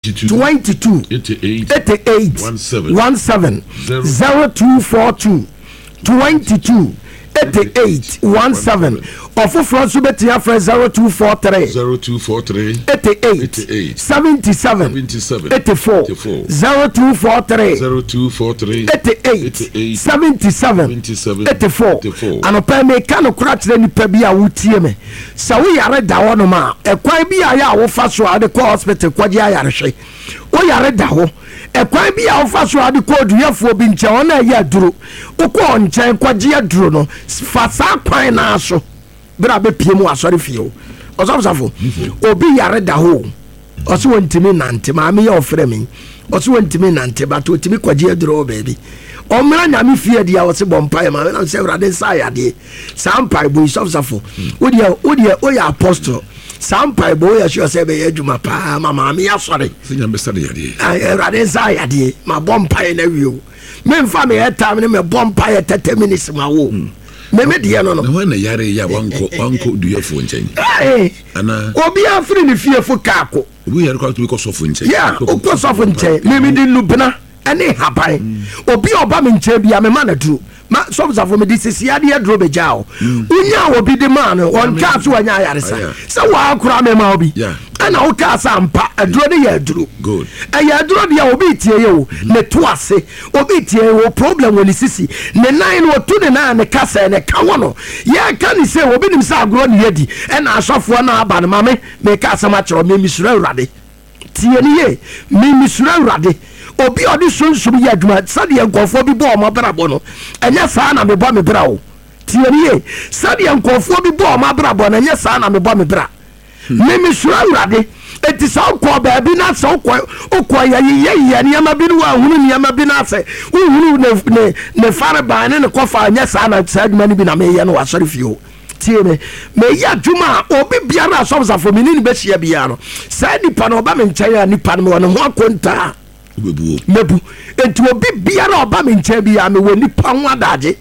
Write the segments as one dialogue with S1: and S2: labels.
S1: 22
S2: 88
S1: 88
S2: 17
S1: 17 0242 22 88 17. Ɔfoforɔ nso bɛtumi afrɛ 0243
S2: 0243
S1: 88
S2: 88
S1: 77
S2: 77
S1: 84
S2: 84
S1: 0243
S2: 0243
S1: 88
S2: 88
S1: 77
S2: 77
S1: 84.
S2: 84.
S1: Anɔpa yi meka nokora kyerɛ nipa bi a wotie me sɛ woyare da hɔnom a, ɛkwan bi a yɛ a wofa so a wode kɔ hospital kɔgye ayarehwɛ, woyare da hɔ, ɛkwan bi a wofa so a wode kɔ oduyɛfoɔ bi nkyɛn, ɔno a ɛyɛ aduro, wokɔ nkyɛn kɔgye aduro no, fa saa kwan naa so berɛ a bɛpie mu asɔre fie o. Ɔsɔfosafo, obi yare da hɔ o, ɔsɛ wɔntumi nante. Maame yɛ ɔfrɛ me, ɔsɛ wɔntumi nante, but ɔtumi kɔgye aduro wɔ baabi. Ɔmmra Nyame fie deɛ, ɔsɛ bɔ mpaeɛ maame nam sɛ Awurade nsa ayadeɛ. Saa mpaebɔ yi, sɔfosafo, wodeɛ woyɛ apostle, saa mpaebɔ woyɛ sure sɛ ɛbɛyɛ adwuma paa ma maame yɛ asɔre.
S2: Sɛ Nyame bɛsa de yadeɛ.
S1: Ah, Awurade nsa ayadeɛ, mabɔ mpaeɛ no awie o, memfa meyɛ time no mɛbɔ mpaeɛ 30 minutes ma wo meme deɛ no.
S2: Na hwan na yare yɛ a wankɔ duyɛfoɔ nkyɛn?
S1: Hey,
S2: anaa
S1: obiara firi ne fie fo kaako.
S2: Obi yare kɔ atumi kɔ sɔfo nkyɛn.
S1: Yeah, wokɔ sɔfo nkyɛn, meme de nnubena ne haban. Obi a ɔba me nkyɛn bia, mema no aduro. Ma sɔfosafo, mede sisi adeɛ aduro bɛgyaa wo. Wonya obi de maa no, ɔntwaa so wanya ayaresa. Sɛ waa koraa mema wo bi. Ɛna wokaa sɛ ampa aduro no yɛ aduro.
S2: Good.
S1: Ɛyɛ aduro deɛ. Obi tie yɛ o, ne to ase, obi tie wɔ problem wɔ ne sisi, ne nan no, ɔtu ne nan a ne ka sɛ ne ka wɔ no. Yɛka ne sɛ obi nim sɛ agorɔ ne yɛdi ɛna asɔfoɔ no aba no. Mame meka asɛm akyerɛ wo, memisuro Awurade. Tie ne ye, memisuro Awurade. Obi a ɔde sunsum yɛ adwuma, sɛdeɛ nkɔfoɔ bi bɔ ɔmo abrabɔ no, ɛnyɛ saa na mebɔ me bra o. Tie ne ye, sɛdeɛ nkɔfoɔ bi bɔ ɔmo abrabɔ no, ɛnyɛ saa na mebɔ me bra. Memisuro Awurade. Eti sɛ wokɔ baabi na sɛ wokɔ yɛyeyɛyɛ nneɛma bi no, woahunu nneɛma bi no asɛ wohunu ne fareban ne ne kɔfa, ɛnyɛ saa na saa adwuma no bi na meyɛ no wɔ asɔre fie o. Tie me, meyɛ adwuma a obi biara asɔfosafo mene ne bɛhyia biara no, saa nipa no ɔba me nkyɛn a, nipa no mewɔ ne ho akontaa.
S2: Wobɛbuo.
S1: Mɛbu. Enti obi biara a ɔba me nkyɛn biara, mewɔ nipa ho adagye.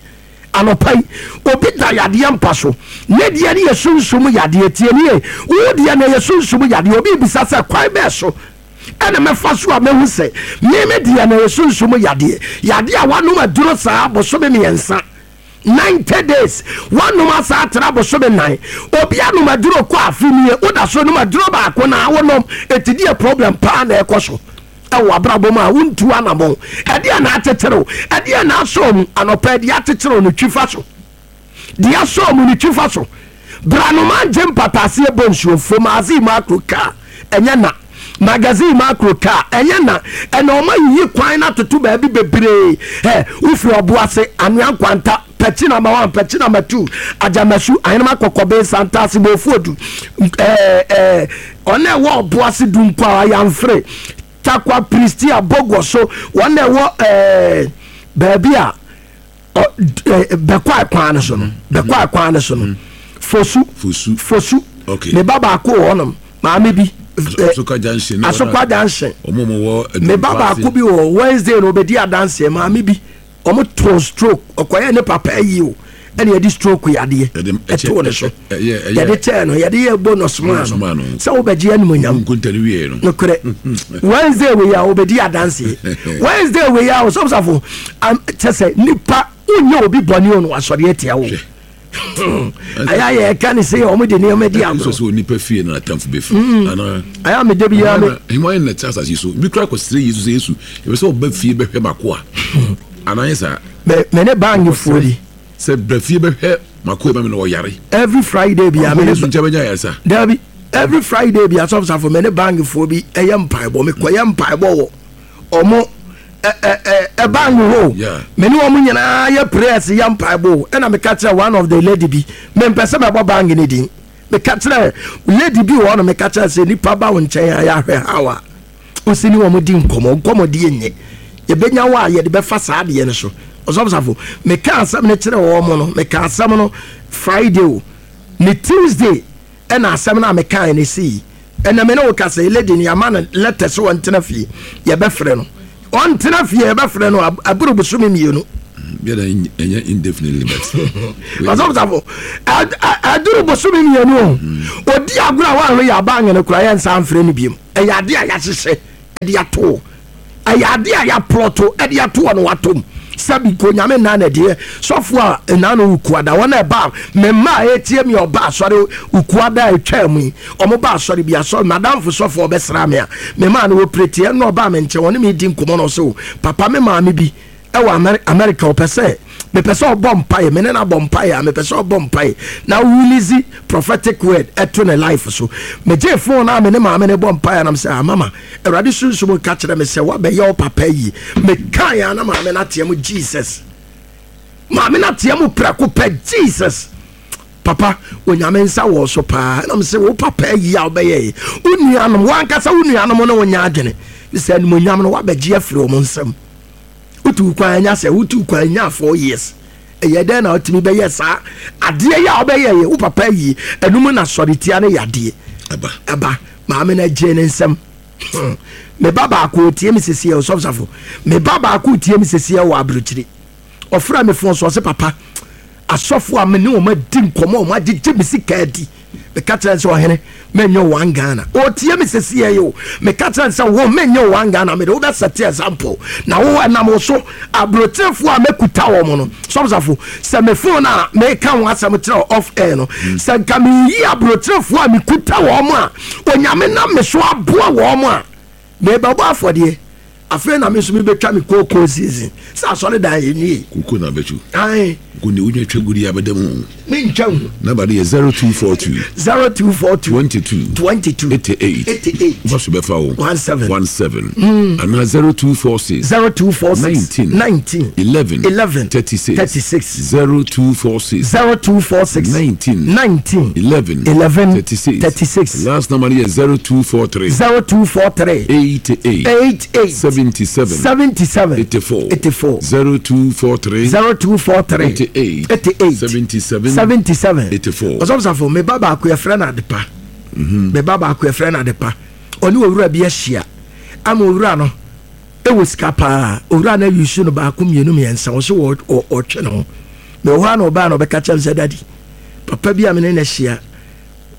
S1: Anɔpa yi obi da yadeɛ mpa so, ne deɛ no yɛ sunsum yadeɛ. Tie ne ye, wo deɛ no yɛ sunsum yadeɛ. Obi bisa sɛ kwan bɛɛ so ɛna mɛfa so a mɛhu sɛ meme deɛ no yɛ sunsum yadeɛ? Yadeɛ a wanom aduro saa bosome 3, 90 days, wanom asa atena bosome 4, obi anom aduro kɔ afe nie, woda so nom aduro baako na wonom. Ɛti deɛ problem paa na ɛkɔ so ɛwɔ abrabɔ mu a wontu anammɔn, ɛdeɛ na akyekyere ɛdeɛ na asɔ mu anɔpa, ɛdeɛ akyekyere no, twi fa so. Deɛ asɔ mu no, twi fa so. Branoma ngye mpataseɛ bɔ nsuo fom ase mu akoro kaa ɛnyɛ na magazine mu akoro kaa ɛnyɛ na ɛna ɔma yiyi kwan na atoto baabi bebree. Ɛ wofiri ɔbo ase, Anwea Nkwanta, pɛkyi number 1, pɛkyi number 2, Agyamasu, Ahenema, Kɔkɔbe, Santase, Bofuodu, ɛɛ ɛɛ ɔna ɛwɔ ɔbo ase, Dunkwa, Ayamfere, Takwa, Pristia, Bogɔ so, wɔn na ɛwɔ baabi a bɛkɔ akwan no so no, bɛkɔ akwan no so no, Fosu.
S2: Fosu.
S1: Fosu.
S2: Okay.
S1: Ne ba baako wɔ hɔnom, maame bi.
S2: Asokwa Junction.
S1: Asokwa Junction.
S2: Ɔmo mo wɔ
S1: Ne ba baako bi wɔ Wednesday na obedi adanseɛ. Maame bi, ɔmo to stroke, ɔkɔyɛ ne papa ayi o, ɛna yɛde stroke yadeɛ ɛtoo ne so, yɛde kyɛɛ no, yɛde yɛ bonus maa no sɛ wobɛgye animonyam.
S2: Nkonta no wie no.
S1: Nokorɛ, Wednesday wei a wobɛdi adanseɛ, Wednesday wei a ɔsɔfosafo kyɛ sɛ nipa wonyɛ obi bɔne o no, wasɔre atia wo. Ɛyɛ a yɛka ne sɛ ɔmo de nneɛma di
S2: sɛ
S1: agorɔ.
S2: Sɛ onipa fie na atamfo bɛfiri anaa?
S1: Ɛyɛ a mede biara me
S2: hema na te asase so bi kora kɔsrɛ Yesu sɛ, Yesu, yɛpɛ sɛ ɔba fie bɛhwɛ mako a, anaa yɛ saa?
S1: Me ne bangefoɔ bi
S2: sɛ bra fie bɛhwɛ mako ma me na ɔyare.
S1: Every Friday bia me ne
S2: Yesu nkyɛn bɛnya ayaresa.
S1: Dabi, every Friday bi, asɔfosafo, me ne bangefoɔ bi ɛyɛ mpaebɔ. Mekɔyɛ mpaebɔ wɔ ɔmo ɛban hɔ. Me ne wɔn nyinaa yɛ prayers, yɛ mpaebɔ o. Ɛna meka kyerɛ one of the lady bi, mempɛ sɛ mɛbɔ bank ne din, meka kyerɛ lady bi wɔ hɔ no, meka kyerɛ sɛ nipa ba wo nkyɛn a, yɛahwɛ how a wosi ne wɔn di nkɔmmɔ. Nkɔmmɔdie nyɛ yɛbɛnya wɔ a yɛde bɛfa saa adeɛ no so. Ɔsɔfosafo, meka asɛm no kyerɛ wɔn mo no, meka asɛm no Friday o, ne Tuesday ɛna asɛm no a mekae no sii. Ɛnna me ne wo kasa yi, lady no yɛama no letter sɛ ɔntena fie, yɛbɛfrɛ no. Ɔntena fie, yɛbɛfrɛ no aboro bosome 2.
S2: Biara ɛnyɛ indefinitely, but
S1: ɔsɔfosafo, ɛduru bosome 2 o, ɔdi agorɔ a woahwɛ yɛ aba anyene kora, yɛnsa mfrɛ no biom. Ɛyɛ ade a yɛahyehyɛ. de ato. Ɛyɛ adeɛ a yɛaplɔto de ato hɔ na watom. Sɛbi nka Onyame nna na ɛdeɛ sɔfo a nna no Wukuada wɔn a ɛba me mma a ɛretie me a ɔba asɔre Wukuada a ɛtwaa mu yi wɔn ba asɔre bi asɔre madamfo sɔfo a ɔbɛsra me a me maa no wɔ pireteɛ na ɔbaa me nkyɛn ɔne me di nkɔmmɔ na ɔsɛ o papa me maame bi ɛwɔ America ɔpɛ sɛ mepɛ sɛ ɔbɔ mpaeɛ me ne no abɔ mpaeɛ a mepɛ sɛ ɔbɔ mpaeɛ na release prophetic word ɛto ne life so. Megye phone a me ne maame no bɔ mpaeɛ nam sɛ ah mama Awurade sunsum ka kyerɛ me sɛ woabɛyɛ wo papa yie. Mekaeɛ a na maame no ateɛ mu Jesus. Maame no ateɛ mu prɛko pɛ Jesus. Papa, Onyame nsa wɔ so paa. Ɛna mesɛ wo papa yie a wobɛyɛ wo nuanom, wankasa wo nuanom ne wo nyɛ adwene. Sɛ animonyam no woabɛgye afiri wɔn nsam. Wotu kwan anya sɛ wotu kwan nya 4 years. Ɛyɛ dɛn na wotumi bɛyɛ saa adeɛ yi a wobɛyɛ yɛ wo papa yie? Ɛnum na sɔretia ne yadeɛ ɛba. Maame no agye ne nsam. Me ba baako otie me sɛsiɛ, ɔsɔfosafo. Me ba baako tie me sɛsiɛ wɔ aburokyiri. Ɔfrɛ me phone so, ɔse papa, asɔfo a me ne wɔn adi nkɔmmɔ, wɔn agyegye me sika adi. Meka kyerɛ sɛ ɔhene menyɛ one Ghana. Ɔtie me sɛsiɛ yi o. Meka kyerɛ sɛ wo menyɛ one Ghana, mede wobɛ set example. Na wo ɛnam wo so aburokyerefoɔ a mɛkuta wɔn no, sɔfosafo, sɛ me phone a meka ho asɛm kyerɛ off air no, sɛ nka meyi aburokyerefoɔ a mekuta wɔn a Onyame nam me so aboa wɔn a mebɛbɔ afɔdeɛ. Afei na me nso mebɛtwa me kookoo season sɛ asɔredan yɛ nwie.
S2: Koko na bɛtwu. Ae. Ko ne wonya twa gudi abɛda mu.
S1: Mentwa hu.
S2: Number no yɛ 0242.
S1: 0242.
S2: 22.
S1: 22.
S2: 88.
S1: 88.
S2: Wofa so bɛfa wo.
S1: 17.
S2: 17. Anaa 0246.
S1: 0246.
S2: 19.
S1: 19.
S2: 11.
S1: 11.
S2: 36.
S1: 36.
S2: 0246.
S1: 0246.
S2: 19.
S1: 19.
S2: 11.
S1: 11.
S2: 36.
S1: 36.
S2: Last number no yɛ 0243.
S1: 0243.
S2: 88.
S1: 88.
S2: 77.
S1: 77.
S2: 84.
S1: 84.
S2: 0243.
S1: 0243.
S2: 88.
S1: 88.
S2: 77.
S1: 77.
S2: 84.
S1: Ɔsɔfosafo, me ba baako yɛfrɛ no Adepa. Me ba baako yɛfrɛ no Adepa. Ɔne owura bi ahyia ama owura no ɛwɔ sika paa. Owura no ayi su no baako, mmienu, mmiɛnsa. Ɔso ɔtwe ne ho. Mewɔ hɔ a na ɔbaa na ɔbɛka kyerɛ me sɛ daddy, papa bi a me ne no ahyia,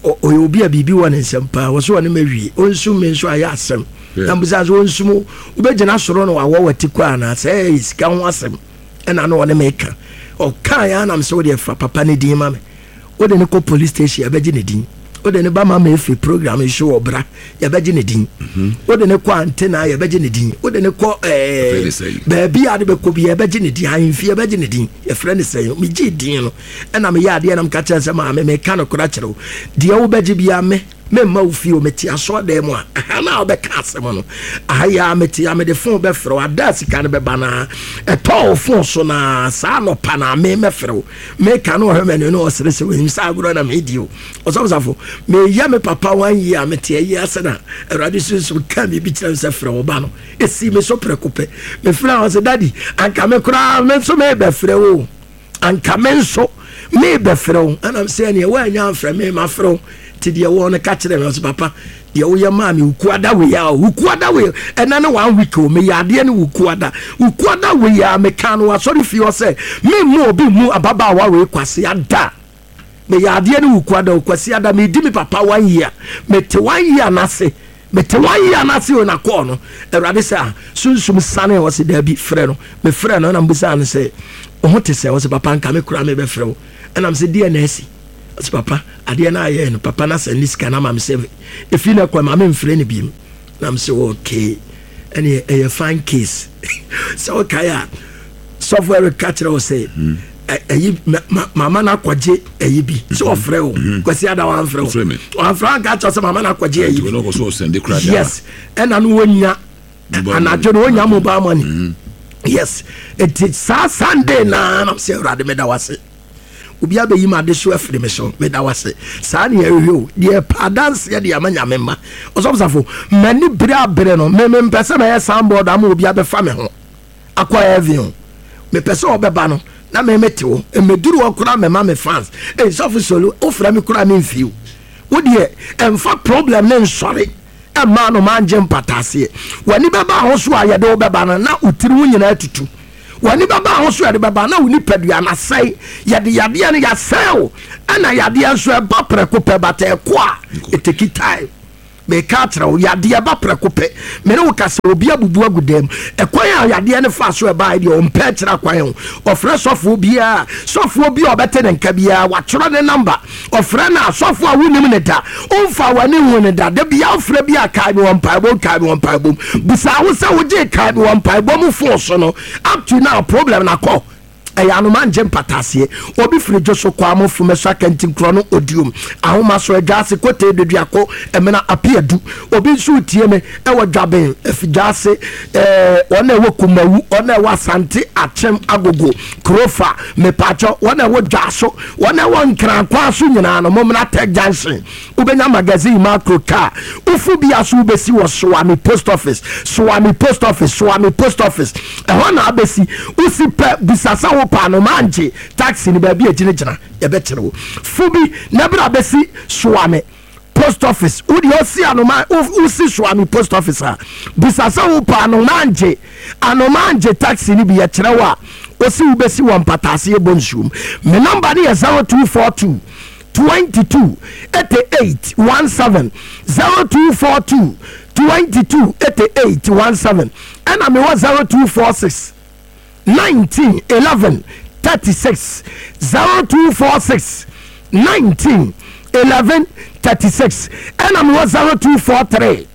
S1: ɔyɛ obi a biribi wɔ ne nsɛm paa. Wɔ so ɔne ma wie ɔnsum me nso ayɛ asɛm. Na mbisa sɛ ɔnsum wobɛgyina soro na wawɔ wati kɔ anaa sɛ ɛyɛ sika ho asɛm ɛna na ɔne meka. Ɔkaa yɛ anam sɛ wode fa papa ne din ma me, wode ne kɔ police station, yɛbɛgye ne din. Wode ne ba ma ma efi program yi so wɔ bra, yɛbɛgye ne din. Wode ne kɔ antena, yɛbɛgye ne din. Wode ne kɔ baabi a de bɛkɔ bi, yɛbɛgye ne din. Ahemfi, yɛbɛgye ne din. Yɛfrɛ ne sɛn? Megye din no ɛna meyɛ adeɛ nam ka kyerɛ sɛ maame, meka no kora kyerɛ wo, deɛ wobɛgye bia me memma wo fie o. Mete asɔɔdan mu a aha na wobɛka asɛm no aha yi a mete a mede phone bɛfrɛ wo. Ada a sika no bɛba naa ɛtɔɔ wo phone so naa saa nɔpa na me mɛfrɛ wo. Meka no ɔhwɛ m'ani no ɔsere sɛ wɔnim sɛ agorɔ na medi o. Ɔsɔfosafo, meyɛ me papa one year a mete ayi ase na Awurade sunsum ka biribi kyerɛ me sɛ frɛ wo ba no. Ɛsii me so prɛko pɛ. Mefrɛ a ɔsɛ daddy, anka me koraa me nso mebɛfrɛ wo, anka me nso mebɛfrɛ wo. Ɛnam sɛ ɛneɛ woanya amfrɛ me, mafrɛ wo. Nti deɛ wɔ no ka kyerɛ me. Ɔsɛ papa, deɛ woyɛ maa me Wukuada wei a, Wukuada wei ɛna ne one week o, meyɛ adeɛ ne Wukuada, Wukuada wei a meka no asɔre fie hɔ sɛ memmu obi mu ababaawa wei kwase ada. Meyɛ adeɛ ne Wukuada o, kwasi ada medi me papa one year. Mete one year n'ase, mete one year n'ase o. Na kɔɔ no Awurade sɛ a sunsum sane. Ɔsɛ daabi, frɛ no. Mefrɛ no ɛna mbusa no sɛ wo te sɛ. Ɔsɛ papa, nka me koraa mebɛfrɛ wo. Ɛnam sɛ deɛ na asi. Ɔsɛ papa, adeɛ no ayɛ no papa no asɛ ne sika no ama me sɛ ɛfi no kɔ ma memfrɛ no biem. Nam sɛ okay, ɛne ɛyɛ fine case. Sɛ wokae a sɔfo ɛreka kyerɛ wo sɛ ɛyi mama no akɔgye ɛyi bi sɛ ɔfrɛ wo Kwasi ada, wamfrɛ wo, wamfrɛ anka kyerɛ sɛ mama no akɔgye ɛyi bi. Yes, ɛna no wɔnya anadwo no wɔnya mobile money. Yes, nti saa Sunday naa nam sɛ Awurade meda wase, obi abɛyi ma ade so afiri me so, meda wase. Saa ne yɛhwehwɛ o, deɛ pa adanseɛ de ama Nyame ma. Ɔsɔfosafo, m'ani bere abere no, me mempɛ sɛ mɛyɛ soundboard ama obi abɛfa me ho akɔ heaven o. Mepɛ sɛ ɔbɛba no na me mete wo mmɛduru hɔ koraa mɛma me fans. Ei, sɔfo solo, wofrɛ me koraa memfie o. Wo deɛ ɛmfa problem ne nsɔre ɛma no mangye mpataaseɛ. W'ani bɛba ho so a yɛde wo bɛba no na wo tiri ho nyinaa tutu. W'ani bɛba ho so yɛde bɛba na wo nipadua no asɛe. Yɛde yadeɛ no yɛasɛe wo. Ɛna yadeɛ nso ɛba prɛko pɛ, but ɛkɔ a ɛ take time. Meka akyerɛ wo, yadeɛ ba prɛko pɛ. Me ne wo ka sɛ obi abubu agu dan mu. Ɛkwan a yadeɛ no faa so ɛbaeɛ deɛ, ɔmpɛ akyerɛ akwan o. Ɔfrɛ sɔfoɔ biara, sɔfoɔ bi a ɔbɛte ne nka biara, watwerɛ ne namba. Ɔfrɛ no a, sɔfoɔ a wonim no da, womfaa w'ani nhuu no da, da biara wofrɛ bi a, kae me wɔ mpaebɔ mu, kae me wɔ mpaebɔ mu. Bisa wo sɛ wogyee kae me wɔ mpaebɔ mu fon so no, up to now problem no akɔ? Ɛyɛ anoma ngye mpataseɛ. Obi firi dwo so kɔ amo fome so akanti nkorɔ no odiom ahoma so adwaase kotee doduako ɛmena apeadu. Obi nso retie me ɛwɔ dwaben afidwaase ɛɛ wɔn a ɛwɔ kumawu wɔn a ɛwɔ asante akyem agogo kurofa mepaakyɛw wɔn a ɛwɔ dwaso wɔn a ɛwɔ nkrankwa so nyinaa no mommra tech junction. Wobɛnya magazine macro car wofu bia so wobɛsi wɔ Soame post office Soame post office Soame post office ɛhɔ na abɛsi wosi pɛ bisa sɛ wo paa no mangye taxi no baabi a gyinagyina yɛbɛkyerɛ wo fu bi na bra bɛsi Soame post office wodeɛ ɔsi anoma wosi Soame post office a bisa sɛ wo paa no mangye anomangye taxi no bi yɛkyerɛ wo a wosi wobɛsi wɔ mpataase yɛbɔ nsuom. Me nɔmba no yɛ 0242 22 88 17 0242 22 88 17 ɛna mewɔ 0246 19 11 36 0246 19 11 36 ɛna mewɔ 0243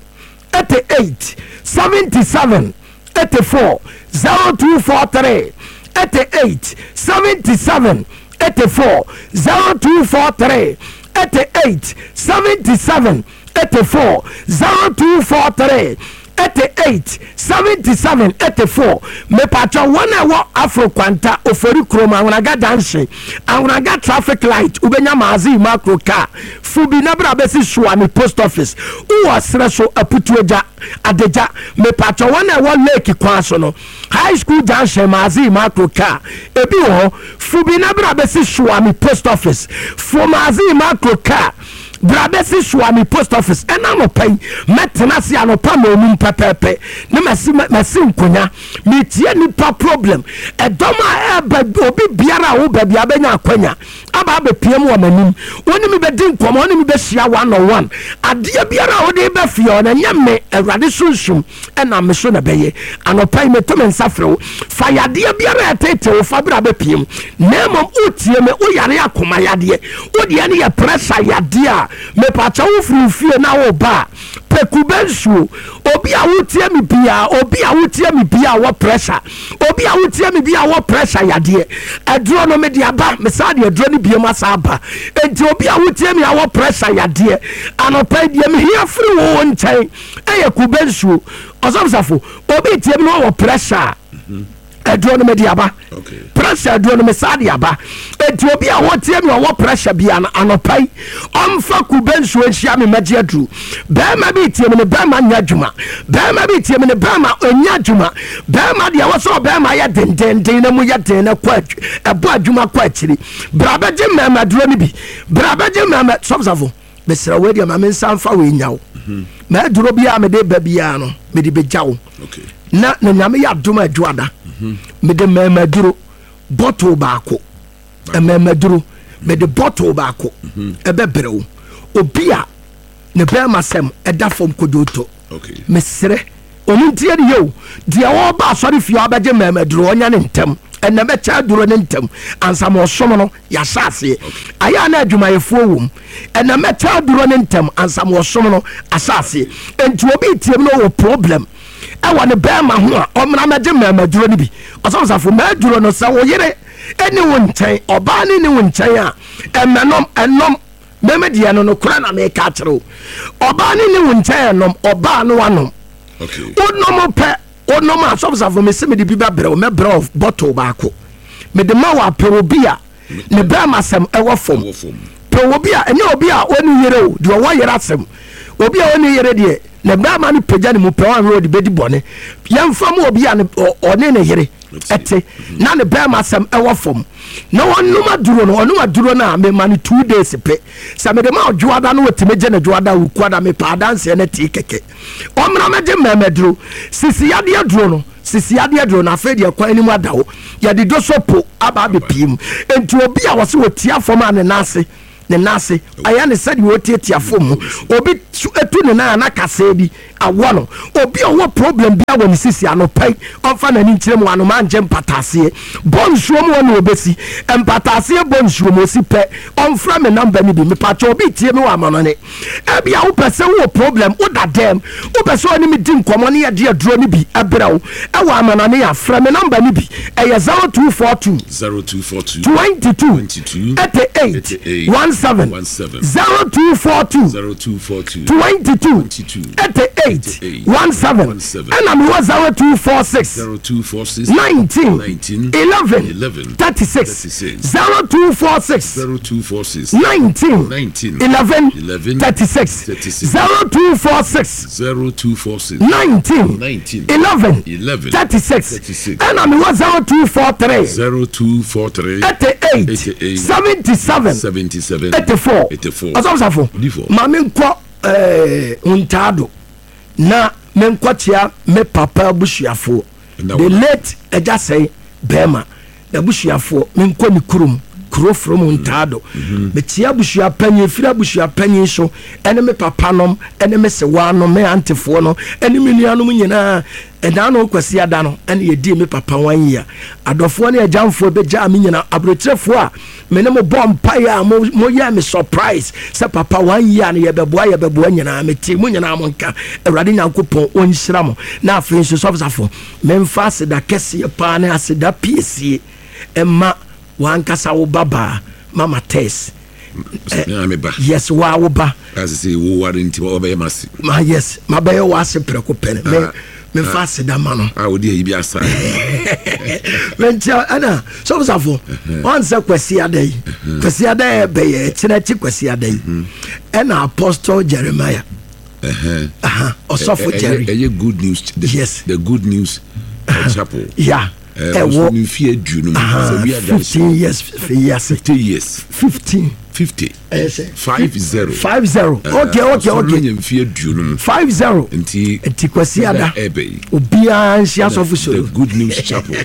S1: 88 77 84 0243 88 77 84 0243 88 77 84 0243 88 77 84. Mepatwa wɔn a ɛwɔ Afro Kwanta Ofori kurom Ahonaga junction Ahonaga traffic light wobɛnya Maaze macro car fubi na bra bɛsi Suame post office. Wowɔ serɛ so Aputuagya Adagya mepatwa wɔn a ɛwɔ lake kwan so no high school junction Maaze macro car ebi wɔ hɔ fubi na bra bɛsi Suame post office fo Maaze macro car bra bɛsi Suame post office. Ɛna anɔpa yi mɛtena ase anɔpa ma onum pɛpɛɛpɛ ne masi masi nkonya metie nipa problem ɛdɔm a ɛba obi biara a wo baabi a bɛnya akwanya aba abɛpie mu wɔ m'anim wo ne me bɛdi nkɔmmɔ wo ne me bɛhyia one on one adeɛ biara a wode bɛ fie ɔno ɛnyɛ me Awurade sunsum ɛna me so na bɛyɛ. Anɔpa yi meto me nsa frɛ wo fa yadeɛ biara a ɛtete wo fa bra bɛpie mu na mmom wotie me woyare akoma yadeɛ wodeɛ no yɛ pressure yadeɛ a mepakyɛ wo firi fie na woba a pɛ kube nsuo. Obi a wotie me biaa obi a wotie me biaa wɔ pressure obi a wotie me biaa wɔ pressure yadeɛ aduro no mede aba mesaa de aduro no biom asa aba. Enti obi a wotie me a wɔ pressure yadeɛ anɔpa yi deɛ mehia firi wo nkyɛn ɛyɛ kube nsuo. Ɔsɔfosafo obi tie me na ɔwɔ pressure a aduro no mede aba pressure aduro no mesaa de aba. Enti obi a wɔtie me ɔwɔ pressure bia no anɔpa yi ɔmfa kube nsuo nhyia me mɛgye aduro. Bɛrima bi tie me ne bɛrima nyɛ adwuma bɛrima bi tie me ne bɛrima ɔnyɛ adwuma bɛrima deɛ wɔ sɛ ɔbɛrima yɛ dendenden na mu yɛ den na kɔ ɛbɔ adwuma kɔ akyiri bra bɛgye mmarima aduro no bi bra bɛgye mmarima sɔfosafo mesrɛ wo deɛ ma me nsa mfa wei nya wo ma aduro biara mede ba biara no mede bɛgya wo na na Nyame yɛ adom adwoada mede mmarima aduro bottle baako mmarima aduro mede bottle baako ɛbɛbrɛ wo obi a ne bɛrima sɛm ɛda fam kodwoto mesrɛ ɔmo ntie ne yɛ o deɛ ɔba asɔre fie a ɔbɛgye mmarima aduro ɔnya ne ntɛm ɛnna bɛkyɛ aduro ne ntɛm ansa ma ɔsom no yɛahyɛ aseɛ ayɛ a na adwumayɛfoɔ wɔ mu ɛnna mɛkyɛ aduro ne ntɛm ansa ma ɔsom no ahyɛ aseɛ. Enti obi tie mu na ɔwɔ problem ɛwɔ ne bɛrima ho a ɔmmra mɛgye mmarima aduro no bi. Ɔsɔfosafo mɛaduro no sɛ wo yere ɛni wo nkyɛn ɔbaa ne ni wo nkyɛn a ɛmɛnom ɛnom mɛmɛ deɛ no nokorɛ na meka akyerɛ wo ɔbaa ne ni wo nkyɛn ɛnom ɔbaa no anom wonom pɛ wonom a sɔfosafo mese mede bi bɛbrɛ wo mɛbrɛ wo bottle baako mede ma wo apɛ obi a ne bɛrima asɛm ɛwɔ fam pɛ obi a ɛnyɛ obi a ɔne yere o deɛ ɔwɔ yere asɛm obi a ɔne yere deɛ ne bɛrima no pagya ne mu pɛ ɔnwe ɔde bɛdi bɔne yɛmfa mu obi a ɔne ne yere ɛte na ne bɛrima asɛm ɛwɔ fam na ɔnom aduro no ɔnom aduro no a mema no 2 days pɛ sɛ mede ma ɔdwoada no wɔtumi gye ne dwoada wokuada mepɛ adanseɛ no tee kɛkɛ ɔmmra mɛgye mmarima aduro sisi yadeɛ aduro no sisi yadeɛ aduro no afei deɛ kwan anim ada wo yɛde do so po aba abɛpie mu. Enti obi a wɔse wɔtia fam a ne nan ase. Ne nan ase ayɛ ne sɛdeɛ ɔtiatia fam mu. Obi tu ne nan a na kasɛɛ bi awɔ no. Obi a ɔwɔ problem biara wɔ ne sisi anɔpa yi ɔmfa n'ani nkyerɛ mu anoma ngye mpataaseɛ. Bɔ nsuo mu hɔ na ɔbɛsi. Mpataaseɛ bɔ nsuo mu ɔsi pɛ ɔmfrɛ me number no bi. Mepakyɛ obi tie me wɔ amanɔne. Ebia wopɛ sɛ wowɔ problem woda dɛm wopɛ sɛ ɔne me di nkɔmmɔ ne yɛde aduro no bi brɛ wo ɛwɔ amanɔne a frɛ me number no bi ɛyɛ 0242
S2: 0242
S1: 22
S2: 22
S1: 88
S2: 88
S1: 17
S2: 17
S1: 0242
S2: 0242
S1: 22
S2: 22
S1: 88
S2: 88
S1: 17
S2: 17
S1: ɛna mewɔ 0246
S2: 0246
S1: 19
S2: 19
S1: 11
S2: 11
S1: 36
S2: 36
S1: 0246
S2: 0246
S1: 19
S2: 19
S1: 11
S2: 11
S1: 36
S2: 36
S1: 0246
S2: 0246
S1: 19
S2: 19
S1: 11
S2: 11
S1: 36
S2: 36
S1: ɛna mewɔ 0243
S2: 0243
S1: 88
S2: 88
S1: 77
S2: 77
S1: 84
S2: 84
S1: ɔsɔfosafo
S2: Odifoɔ.
S1: ma menkɔ eh, ntaado na menkɔkyea me papa abusuafoɔ
S2: Na
S1: the
S2: wɔn-
S1: late agya sɛe bɛrima n'abusuafoɔ menkɔ ne kurom kuro from ntaado mekyea abusua panyin firi abusua panyin so ɛne me papa nom ɛne me sewaa nom me antefoɔ no ɛne me nuanom nyinaa ɛdaa no kwasi ada no ɛne yɛdii me papa one year adɔfoɔ ne agyamfoɔ bɛgyaa me nyinaa aburokyerɛfoɔ a me ne mo bɔ mpaeɛ a mo moyɛɛ me surprise sɛ papa one year no yɛbɛboa yɛbɛboa nyinaa mete mo nyinaa mo nka awurade nyankopɔn ɔnhyira mo na afei nso sɔfosafo memfa aseda kɛseɛ paa ne aseda piesie ɛma wankasa wo babaa mama tess
S2: Me me ba.
S1: Yes, waa wo ba.
S2: Ase sɛ wo ware nti wɔbɛyɛ m'ase.
S1: Ma yes, mabɛyɛ w'ase prɛko pɛ no. Me memfa aseda ma no.
S2: A wode ayi bi asa.
S1: Menkyia ɛna sɔfosafo ɔn sɛ kwasi ada yi. Kwasi ada yɛ bɛyɛ ɛkyerɛ akyi kwasi ada yi. Ɛna Apostle Jeremiah. Ɔsɔfo Jerry.
S2: Ɛyɛ good news.
S1: Yes.
S2: The good news chapel.
S1: Yeah.
S2: Ɛwɔ ne mfe aduonu mu. Sɛ wi adansi.
S1: 15 years fi ase.
S2: 50 years.
S1: 15.
S2: 50. 50.
S1: 50. Okay, okay, okay.
S2: Ɔsɔre mfe aduonu mu.
S1: 50.
S2: Nti.
S1: Nti kwasi ada.
S2: Ɛbɛ yi.
S1: Obiara nhyia sɔfo solo.
S2: The good news chapel.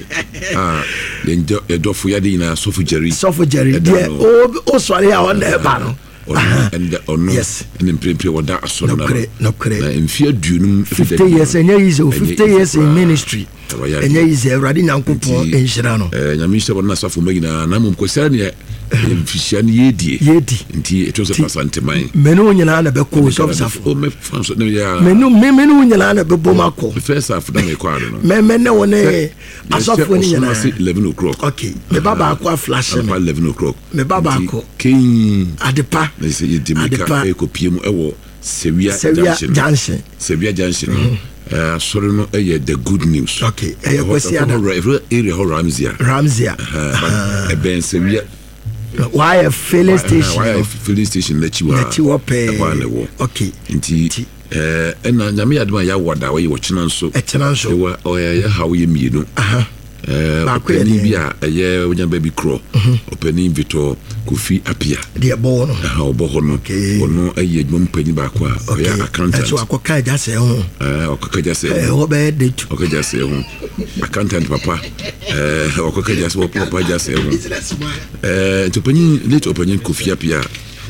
S2: Ah, yɛn dɔfo yade nyinaa sɔfo Jerry.
S1: Sɔfo Jerry deɛ o sɔre a ɔna ɛba no.
S2: Ɔno ɛnda ɔno
S1: yes.
S2: ɛne mprempren wɔda asɔre no
S1: nokorɛ nokorɛ
S2: na mfe aduonum
S1: 50 years ɛnyɛ easy o 50 years in ministry ɛnyɛ easy awurade nyankopɔn nhyira no
S2: eh, nyame nhyira wɔn asafo mma nyinaa na mmom kɔsiara neɛ mfihyia no yɛdie
S1: yɛdi
S2: nti ɛtɔ sɛ pasanteman
S1: mene wo nyinaa na bɛkɔ o sɔfosafo
S2: mɛfa so ne yɛ
S1: mene mene wo nyinaa na bɛbɔ mu akɔ
S2: first half na mekɔ ado no
S1: mɛmɛ ne wo ne asɔfoɔ no nyinaa
S2: 11 o'clock
S1: okay meba baako aflashe me
S2: 11 o'clock
S1: Me ba baako.
S2: Keen.
S1: Adepa.
S2: Na sɛ yɛdi mmirika ɛrekɔpie mu ɛwɔ Sewia
S1: Junction. Junction.
S2: Sewia Junction no. Mm-hmm. Eh, asɔre no ɛyɛ the good news.
S1: Okay, ɛyɛ Kwasi Ada.
S2: Ɛhɔ area hɔ Ramsia.
S1: Ramsia.
S2: Ɛbɛn Sewia.
S1: Wayɛ filling station.
S2: Wayɛ filling station n'akyi wɔ.
S1: N'akyi wɔ pɛɛ.
S2: Ɛhɔ a na ɛwɔ.
S1: Okay.
S2: Nti ɛna nyame yɛ adum a yɛawɔ da wɔyɛ wɔkyena nso.
S1: Ɛkyena nso.
S2: Ɛwɔ ɔyɛ yɛ ha wɔyɛ mmienu.
S1: Baako yɛ
S2: Ɔpanin bi a ɛyɛ wonya baabi korɔ, ɔpanin Victor Kofi Apia.
S1: Deɛ ɛbɔ hɔ no.
S2: Ɛha ɔbɔ hɔ no. Ɔno ɛyɛ adwuma mu panyin baako a ɔyɛ accountant.
S1: Ɛso akɔka agya sɛ ho.
S2: Ɛɛ ɔkɔka agya sɛ ho.
S1: Ɛhɔ bɛyɛ de tu.
S2: Ɔkɔ agya sɛ ho. Accountant papa. Ɛɛ ɔkɔka agya sɛ papa agya sɛ ho. Ɛɛ nti ɔpanyin late ɔpanyin Kofi Apia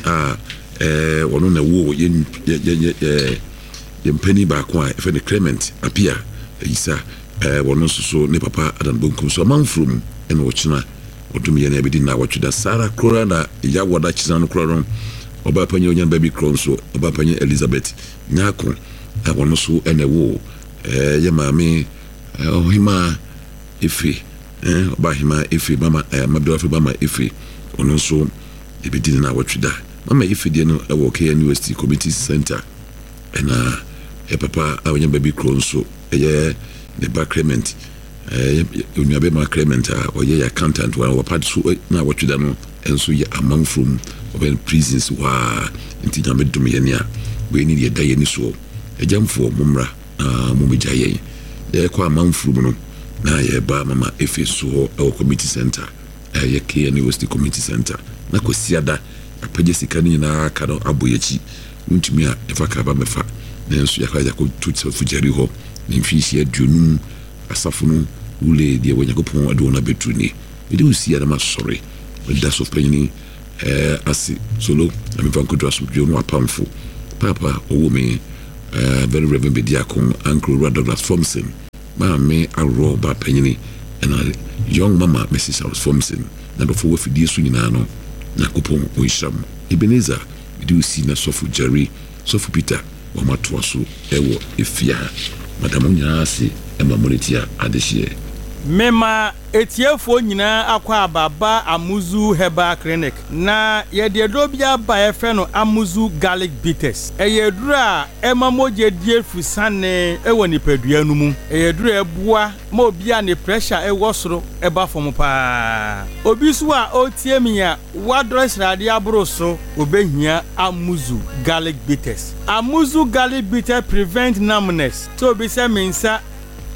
S2: a ɛɛ ɔno na ɛwɔ yɛn yɛn yɛn yɛn panyin baako a yɛfrɛ no Clement Apia Ayisa. Ɛɛ wɔno nso so ne papa Adam bonkum so amanforo mu ɛna ɔkyena ɔdom yɛn a ɛbɛdi nnawɔtwe da saa ara koraa na Yawoada kyena no koraa no ɔbaa panyin ɔnya ba bi korɔ nso ɔbaa panyin Elizabeth Nyarko a wɔno nso ɛna ɛwoo ɛɛ yɛ maame ɔhemaa Efe ɛɛ ɔbaa hemaa Efe mama ɛɛ mabere afei mama Efe ɔno nso ɛbɛdi ne nnawɔtwe da mama Efe deɛ no ɛwɔ KNUST Community Center ɛna yɛ papa a ɔnya ba bi korɔ nso Ɛyɛ ne ba Clement, ɛyɛ onuabarima Clement a ɔyɛ yɛ accountant wɔ papa so na wɔtwe da no nso yɛ amanfoɔ mu ɔbɛn prisons hɔ a nti nyame dom yɛn a wei ne deɛ ɛda yɛn ani soɔ agyamfoɔ mo mmra na mo bɛgya yɛn yɛkɔ amanfoɔ mu no na yɛba mama efe so hɔ ɛwɔ community center ɛyɛ KNUST community center na kwasiada apagya sika no nyinaa ka no abɔ yɛakyi Wontumi a yɛfa kar ba bɛfa, nanso yɛakɔ yɛakɔto Safo Gyari hɔ ne mfirihyia aduonum asafo no wulee deɛ Onyankopɔn de wɔn abɛduru nie. Mede wo si a na masɔre. Meda sɔfopanyin eh, ase Solo na memfa nkɔduru asomdwoeɛ mu apamfo Paapa ɔwoo me eh, Very Reverend Bediako Uncle Owura Douglas Fomson Maame Aworɔ ba panyini ɛna Young Mama Mrs Charles Fomson na dɔfo wɔ afidie so nyinaa no Nyankopɔn ɔnhyira mo Ebenezer mede wo si na Sɔfo Jerry Sɔfo Peter wɔn atoa so wɔ efie ha. Mada mo nyinaa ase ma moretia adehyeɛ.
S3: Mema etiefoɔ nyinaa akwaaba ba Amuzu Herbal Clinic. Na yɛde aduro bi aba a yɛfrɛ no Amuzu Garlic Bitters. Ɛyɛ aduro a ɛma mogya di afusane wɔ nipadua no mu. Ɛyɛ aduro a ɛboa ma obi a ne pressure wɔ soro ba fam pa ara. Obi nso a ɔretie me a wadɔre sradeɛ aboro so, ɔbɛhia Amuzu Garlic Bitters. Amuzu Garlic Bitters prevent numbness, sɛ obi sɛ me nsa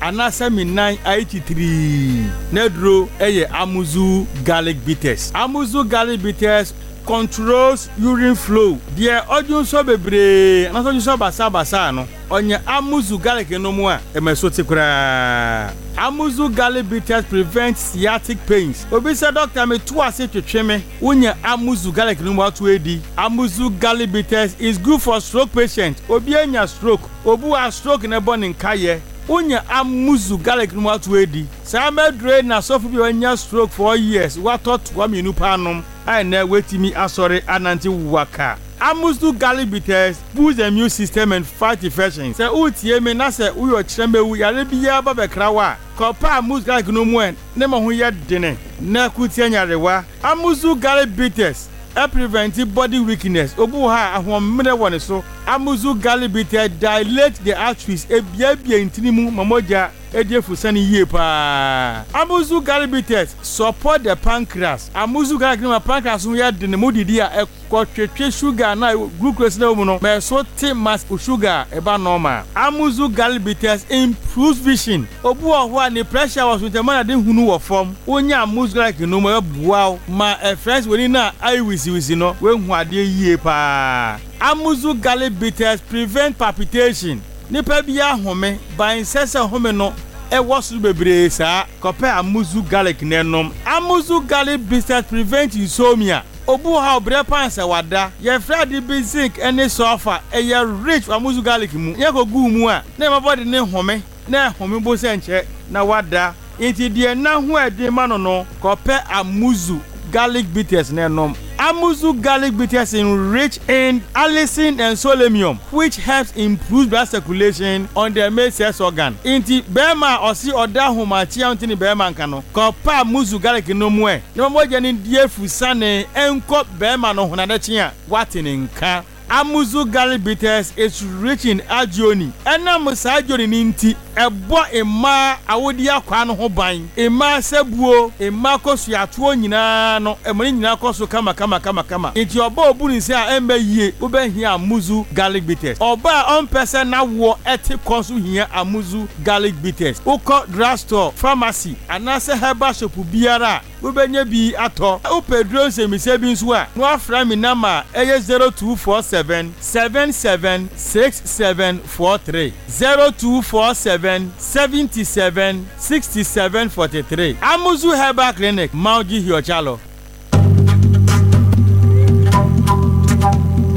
S3: anaasɛ me nan ayɛ titirii, n'aduro yɛ Amuzu Garlic Bitters. Amuzu Garlic Bitters controls urine flow, deɛ ɔdwonsɔ bebree anaasɛ ɔdwonsɔ basabasa no, ɔnya Amuzu Garlic nom a, ɛma ɛso te koraa. Amuzu Garlic Bitters prevent sciatic pains, obi sɛ dɔkta me to ase twetwe me, wonya Amuzu Garlic nom ato adi. Amuzu Garlic Bitters is good for stroke patient, obi anya stroke, obi wɔ a stroke na ɛbɔ ne nkayɛ, wonya Amuzu Garlic nom ato adi. Saa mɛduro yi na sɔfo bi a wanya stroke 4 years watɔ toa mmienu paa nom a ɛnnɛ watumi asɔre anante waka. Amuzu Garlic Bitters boosts the immune system and fight infections. Sɛ woretie me na sɛ woyɛ ɔkyerɛmɛwu yare biara ba bɛkra wo a, kɔpɛ Amuzu Garlic no mu ɛ ne ma ho yɛ dene na ko tia nyarewa. Amuzu Garlic Bitters prevent body weakness, obi wɔ hɔ a ahoɔmmerɛ wɔ ne so. Amuzu Garlic Bitters dilate the arteries, ebiabia ntini mu ma mogya di afusane yie paa. Amuzu Garlic Bitters support the pancreas. Amuzu Garlic no ma pancreas ho yɛ dene ma wodidi a ɛkɔtwetwe sugar no a glucose no a ɛwɔ mu no ma ɛso te ma sugar a ɛba normal. Amuzu Garlic Bitters improves vision. Obi wɔ hɔ a ne pressure wɔ so nti ɛma n'ade hunu wɔ fam. Wonya Amuzu Garlic no mu a ɛbɛboa wo ma ɛfrɛ sɛ w'ani no a ayɛ wisiwisi no woahu adeɛ yie paa. Amuzu Garlic Bitters prevent palpitation. Nipa biara home, but ɛnsɛ sɛ home no wɔ soro bebree saa. Kɔpɛ Amuzu Garlic na nom. Amuzu Garlic Bitters prevent insomnia. Obi wɔ hɔ a ɔbrɛ paa sɛ wada. Yɛfrɛ ade bi zinc ne sulfur, ɛyɛ rich wɔ Amuzu Garlic mu. Yɛkɔ gu wo mu a, na ɛma body no home, na ɛhome mpo sɛ nkyɛ na wada. Enti deɛ nna ho ɛden ma no no, kɔpɛ Amuzu Garlic Bitters na nom. Amuzu Garlic Bitters enrich in allicin and solenium which helps improves blood circulation on the male sex organ. Enti barima a ɔse ɔda ahomakye a ɔnte ne barima nka no, kɔpɛ Amuzu Garlic nom ɛ na ma mogya no ndi afusane nkɔ barima no ho na ade kye a, woate ne nka. Amuzu Garlic Bitters is rich in arginine. Ɛnam saa arginine no nti, ɛbɔ mmaa awodeɛ akwaa no ho ban. Mmaa sabuo, mmaa kosuatoɔ nyinaa no, ɛma ne nyinaa kɔ so kamakamakamakama. Nti ɔbaa a ɔbu ne nsa a ɛmma yie, wobɛhia Amuzu Garlic Bitters. Ɔbaa a ɔmpɛ sɛ n'awoɔ te kɔ nso hia Amuzu Garlic Bitters. Wokɔ drugstore, pharmacy anaasɛ herbal shop biara a, Wobɛnya bi atɔ. Wopɛ aduro nsɛmmisa bi nso a, na woafrɛ me nɔma a ɛyɛ 0247 77 6743, 0247 77 67 43. Amuzu Herbal Clinic, Mauji Hiochalo.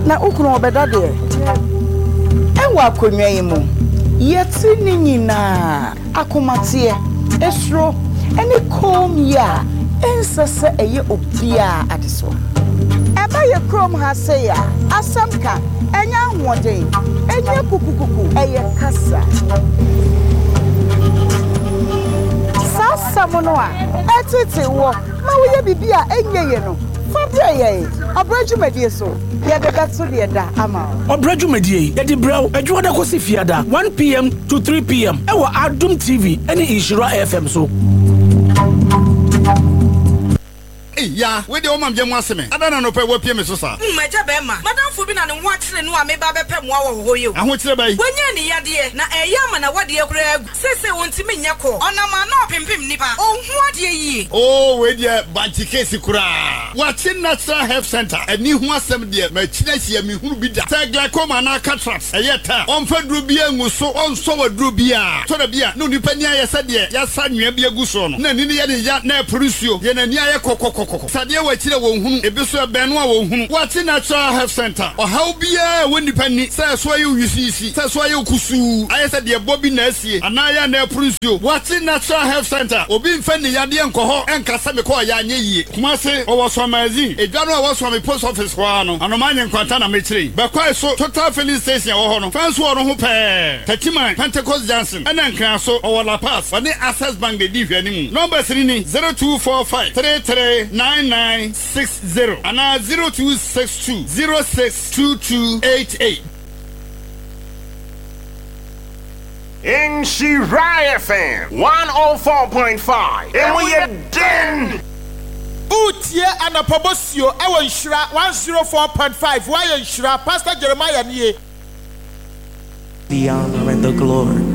S4: Na wo kunu ɔbɛda deɛ? Ɛwɔ akonnwa yi mu, yɛte ne nyinaa. Akomateɛ, esuro, ne kommyɛ a ɛnsɛ sɛ ɛyɛ obiara adesoa. Ɛba yɛ kurom ha sei a, asɛm ka, ɛnyɛ ahoɔden, ɛnyɛ kukukuku, ɛyɛ kasa. Saa asɛm no a ɛtetee woɔ ma woyɛ biribi a ɛnyɛ yie no, fa brɛ yɛn Ɔbrɛ dwumadie so. Yɛde bɛto deɛ da ama wo.
S5: Ɔbrɛ dwumadie yi, yɛde brɛ wo Adwuada kɔsi Fiada, 1 pm to 3 pm ɛwɔ Adom TV ne Nhyira FM so.
S6: Ei Yaa, wei deɛ woma meyɛ mu ase me. Adɛn na anɔpa yi woapue me so saa?
S7: Hmm, agya bɛɛma, m'adamfo bi na ne ho akyere no a meba abɛpɛ mmoa wɔ hɔ yi o.
S6: Ahokyere bɛn?
S7: Wanya aniyadeɛ, na ɛreyɛ ama n'awadeɛ koraa agu. Seesei ontumi nyɛ kɔ. Ɔnam a na ɔpempem nnipa. Onhu adeɛ yie.
S6: Oo, wei deɛ bankye case koraa. Wakye Natural Health Centre, ani ho asɛm deɛ, makyini ahyia, menhunu bi da. Sɛ glaucoma anaa cataract, ɛyɛ ta a, ɔmfa duro biara ngu so, ɔnsɔ wo aduro biara. Tɔ da bi a, na onipa ani ayɛ sɛ deɛ yɛasa anwea bi agu soɔ no, na ani no yɛ no ya na ɛpore nsuo, deɛ n'ani ayɛ kɔkɔkɔkɔ. Sɛ adeɛ wɔ akyiri a wɔnhunu, ebi nso ɛbɛn no a wɔnhunu. Wakye Natural Health Centre, ɔhaw biara a ɛwɔ nnipa ani, sɛ ɛso ayɛ wo yisiyisi, sɛ ɛso ayɛ wo kusuu, ayɛ sɛ deɛ ɛbɔ bi na asie, anaa ayɛ a na ɛpore nsuo. Wakye Natural Health Centre, obi mfa nni yadeɛ nkɔ hɔ nka sɛ mekɔɔ yɛ anyɛ yie. Kumase, ɔwɔ Suamazin, edwa no a ɛwɔ Suame Post Office hɔ ara no, Anomaa Nyenkwanta na mekyerɛ yi. Bɛkwae so, Total Filling Station a ɛwɔ hɔ no, fɛn so wɔ no ho pɛɛ. Techiman, Pentecost Junction, ɛna Nkraso, ɔwɔ La Paz, ɔne Access Bank na edi nhwɛanimu. Numbers no ni, 0245 33 9960 anaa 0262 06 2288.
S8: Nhyira FM 104.5, emu yɛ den!
S9: Woretie Anɔpa Bosuo wɔ Nhyira 104.5 Woayɛ Nhyira, Pastor Jeremiah nie.
S10: The honor and the glory.